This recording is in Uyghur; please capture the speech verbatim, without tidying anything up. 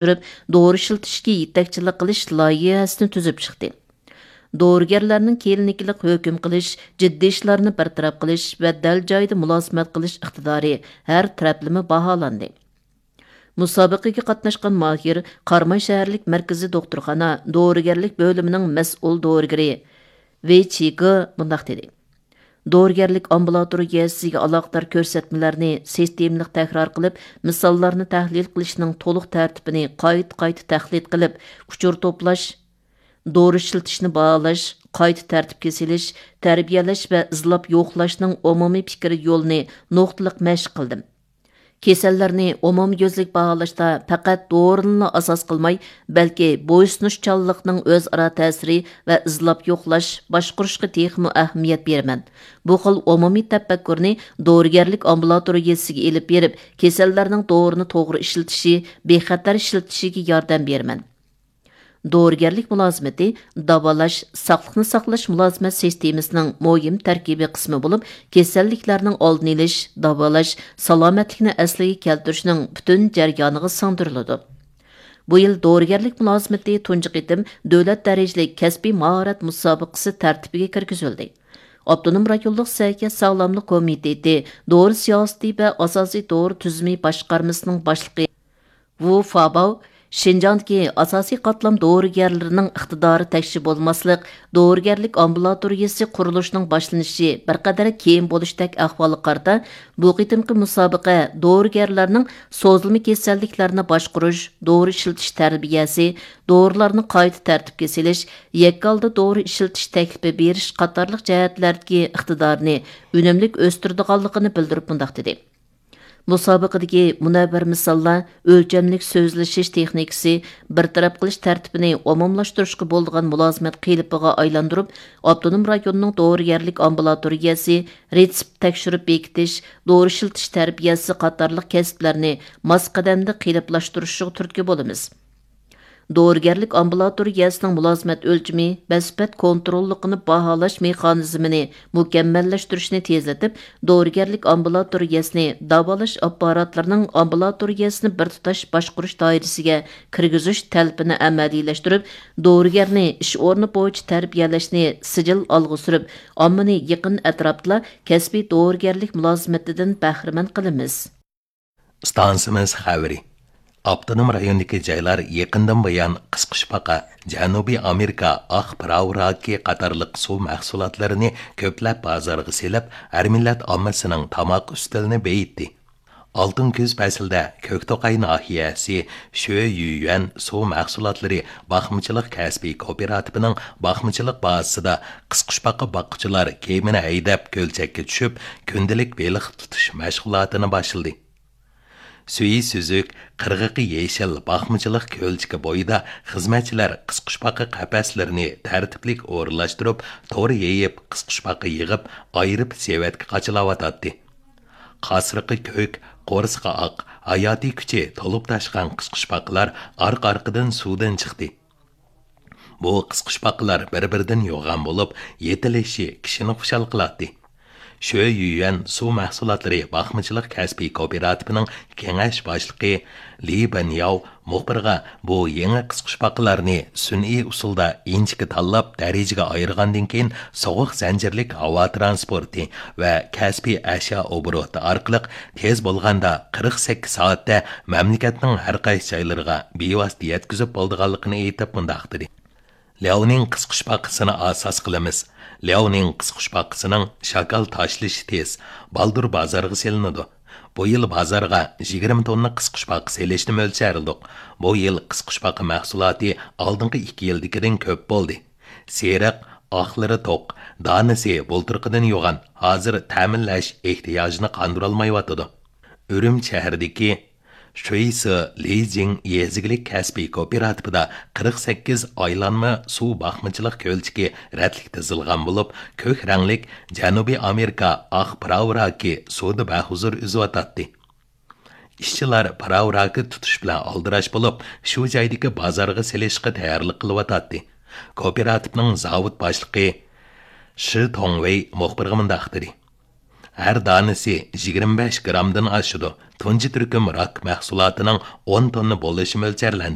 سۈرۈپ، دورا ئىشلىتىشكە يېتەكچىلىك قىلىش لايىھەسىنى تۈزۈپ چىقتى. دورىگەرلەرنىڭ كىلىنىكىلىق ھۆكۈم قىلىش، جىددىي ئىشلارنى بىر تەرەپ قىلىش ۋە دەل جايىدا مۇلازىمەت قىلىش ئىقتىدارى ھەر تەرەپلىمە باھالاندى. مۇسابىقىگە قاتناشقان ماھىر قاراماي شەھەرلىك مەركىزىي دوختۇرخانا دورىگەرلىك بۆلۈمىنىڭ مەسئۇل دورىگىرى ۋېي چىگې مۇنداق دېدى: دورىگەرلىك ئامبۇلاتورىيەسىگە ئالاقىدار كۆرسەتمىلەرنى سىستېمىلىق تەكرار قىلىپ، مىساللارنى تەھلىل قىلىشنىڭ تولۇق تەرتىپىنى قايتا-قايتا تەقلىد قىلىپ، ئۇچۇر توپلاش، دورا ئىشلىتىشنى باھالاش، قايتا تەرتىپكە سېلىش، تەربىيەلەش ۋە ئىزلاپ يوقلاشنىڭ ئومۇمىي پىكىر يولىنى نۇقتىلىق مەشىق قىلدىم. كېسەللەرنى ئومۇميۈزلۈك باھالاشتا پەقەت دورىنىلا ئاساس قىلماي، بەلكى بويسۇنۇشچانلىقنىڭ ئۆزئارا تەسىرى ۋە ئىزلاپ يوقلاش، باشقۇرۇشقا تېخىمۇ ئەھمىيەت بېرىمەن. بۇ خىل ئومۇمىي تەپەككۇرنى دورىگەرلىك ئامبۇلاتورىيەسىگە ئېلىپ بېرىپ، كېسەللەرنىڭ دورىنى توغرا ئىشلىتىشى، بىخەتەر ئىشلىتىشىگە ياردەم بېرىمەن. دورىگەرلىك مۇلازىمىتى داۋالاش، ساقلىقنى ساقلاش مۇلازىمەت سىستېمىسىنىڭ مۇھىم تەركىبىي قىسمى بولۇپ، كېسەللىكلەرنىڭ ئالدىنى ئېلىش، داۋالاش، سالامەتلىكنى ئەسلىگە كەلتۈرۈشنىڭ پۈتۈن جەريانىغا سىڭدۈرۈلىدۇ. بۇ يىل دورىگەرلىك مۇلازىمىتى تۇنجى قېتىم دۆلەت دەرىجىلىك كەسپىي ماھارەت مۇسابىقىسى تەرتىپىگە كىرگۈزۈلدى. ئاپتونوم رايونلۇق سەھىيە ساغلاملىق كومىتېتى دورا سىياسىتى ۋە ئاساسىي دورا تۈزۈمى باشقارمىسىنىڭ باشلىقى ۋۇ فاباۋ شىنجاڭدىكى ئاساسىي قاتلام دورىگەرلىرىنىڭ ئىقتىدارى تەكشى بولماسلىق، دورىگەرلىك ئامبۇلاتورىيەسى قۇرۇلۇشىنىڭ باشلىنىشى بىر قەدەر كېيىن بولۇشتەك ئەھۋالغا قارىتا، بۇ قېتىمقى مۇسابىقە دورىگەرلەرنىڭ سوزۇلما كېسەللىكلەرنى باشقۇرۇش، دورا ئىشلىتىش تەربىيەسى، دورىلارنى قايتا تەرتىپكە سېلىش، يەككە ھالدا دورا ئىشلىتىش تەكلىپى بېرىش قاتارلىق جەھەتلەردىكى ئىقتىدارىنى ئۈنۈملۈك ئۆستۈرىدىغانلىقىنى بىلدۈرۈپ مۇنداق دېدى. مۇسابىقىدىكى مۇنەۋۋەر مىساللار ئۆلچەملىك سۆزلىشىش تېخنىكىسى، بىر تەرەپ قىلىش تەرتىپىنى ئومۇملاشتۇرۇشقا بولىدىغان مۇلازىمەت قېلىپىغا ئايلاندۇرۇپ، ئاپتونوم رايوننىڭ دورىگەرلىك ئامبۇلاتورىيەسى، رېتسېپت تەكشۈرۈپ بېكىتىش، دورا ئىشلىتىش تەربىيەسى قاتارلىق كەسىپلەرنى ماس قەدەمدە قېلىپلاشتۇرۇشىغا تۈرتكە بولىمىز. دورىگەرلىك ئامبۇلاتورىيەسىنىڭ مۇلازىمەت ئۆلچىمى ۋە سۈپەت كونتروللۇقىنى باھالاش مېخانىزمىنى مۇكەممەللەشتۈرۈشنى تېزلىتىپ، دورىگەرلىك ئامبۇلاتورىيەسىنى داۋالاش ئاپپاراتلىرىنىڭ ئامبۇلاتورىيەسىنى بىر تۇتاش باشقۇرۇش دائىرىسىگە كىرگۈزۈش تەلىپىنى ئەمەلىيلەشتۈرۈپ، دورىگەرنى ئىش ئورنى بويىچە تەربىيەلەشنى سىجىل ئالغا سۈرۈپ، ئاممىنى يېقىن ئەتراپتىلا كەسپىي دورىگەرلىك مۇلازىمىتىدىن بەھرىمەن قىلىمىز. ئىستانسىمىز خەۋىرى. ئاپتونوم رايوندىكى جايلار يېقىندىن بۇيان قىسقۇچپاقا، جەنۇبىي ئامېرىكا ئاق پىراۋ راكى قاتارلىق سۇ مەھسۇلاتلىرىنى كۆپلەپ بازارغا سېلىپ، ھەر مىللەت ئاممىسىنىڭ تاماق ئۈستىلىنى بېيىتتى. ئالتۇن كۈز پەسلىدە كۆكتوقاي ناھىيەسى شۆيۈەن سۇ مەھسۇلاتلىرى باقمىچىلىق كەسپىي كوپىراتىپىنىڭ باقمىچىلىق بازىسىدا قىسقۇچپاقا باققۇچىلار كېمىنى ھەيدەپ كۆلچەككە چۈشۈپ، كۈندىلىك بېلىق تۇتۇش مەشغۇلاتىنى باشلىدى. سۈيى سۈزۈك، قىرغىقى يېشىل باقمىچىلىق كۆلچىكى بويىدا خىزمەتچىلەر قىسقۇچپاقا قەپەسلىرىنى تەرتىپلىك ئورۇنلاشتۇرۇپ، تور يېيىپ، قىسقۇچپاقا يىغىپ، ئايرىپ سېۋەتكە قاچىلاۋاتاتتى. قاسرىقى كۆك، قورسىقى ئاق، ھاياتىي كۈچى تولۇپ تاشقان قىسقۇچپاقىلار ئارقا-ئارقىدىن سۇدىن چىقتى. بۇ قىسقۇچپاقىلار بىر-بىرىدىن يوغان بولۇپ، يېتىلىشى كىشىنى خۇشال قىلاتتى. شۆيۈەن سۇ مەھسۇلاتلىرى باقمىچىلىق كەسپىي كوپىراتىپىنىڭ كېڭەش باشلىقى لى بېنياۋ مۇخبىرغا بۇ يېڭى قىسقۇچپاقىلارنى سۈنئىي ئۇسۇلدا ئىنچىكە تاللاپ، دەرىجىگە ئايرىغاندىن كېيىن، سوغۇق زەنجىرلىك ھاۋا تىرانسپورتى ۋە كەسپىي ئەشيا ئوبوروتى ئارقىلىق تېز بولغاندا قىرىق سەككىز سائەتتە مەملىكەتنىڭ ھەر قايسى جايلىرىغا بىۋاسىتە يەتكۈزۈپ بولىدىغانلىقىنى ئېيتىپ مۇنداق دېدى. لياۋنىڭ قىسقۇچپاقىسىنى ئاساس قىلىمىز. لياۋنىڭ قىسقۇچپاقىسىنىڭ شاكال تاشلىشى تېز، بالدۇر بازارغا سېلىنىدۇ. بۇ يىل بازارغا يىگىرمە توننا قىسقۇچپاقا سېلىشنى مۆلچەرلىدۇق. بۇ يىل قىسقۇچپاقا مەھسۇلاتى ئالدىنقى ئىككى يىلدىكىدىن كۆپ بولدى. سېرىق، ئاقلىرى توق، دانىسى بۇلتۇرقىدىن يوغان، ھازىر تەمىنلەش ئېھتىياجىنى قاندۇرالمايۋاتىدۇ. ئۈرۈمچى شەھىرىدىكى شۇيسى لىجىڭ يېزا ئىگىلىك كەسپىي كوپىراتىپىدا قىرىق سەككىز ئايلانما سۇ باقمىچىلىق كۆلچىكى رەتلىك تىزىلغان بولۇپ، كۆك رەڭلىك جەنۇبىي ئامېرىكا ئاق پىراۋ راكى سۇدا بەھۇزۇر ئۈزۈۋاتاتتى. ئىشچىلار پىراۋ راكى تۇتۇش بىلەن ئالدىراش بولۇپ، شۇ جايدىكى بازارغا سېلىشقا تەييارلىق قىلىۋاتاتتى. كوپىراتىپنىڭ زاۋۇت باشلىقى شى توڭۋېي مۇخبىرغا مۇنداق دېدى. ھەر دانىسى يىگىرمە بەش گرامدىن ئاشىدۇ. تۇنجى تۈركۈم راك مەھسۇلاتىنىڭ ئون توننا بولۇشى مۆلچەرلەندى.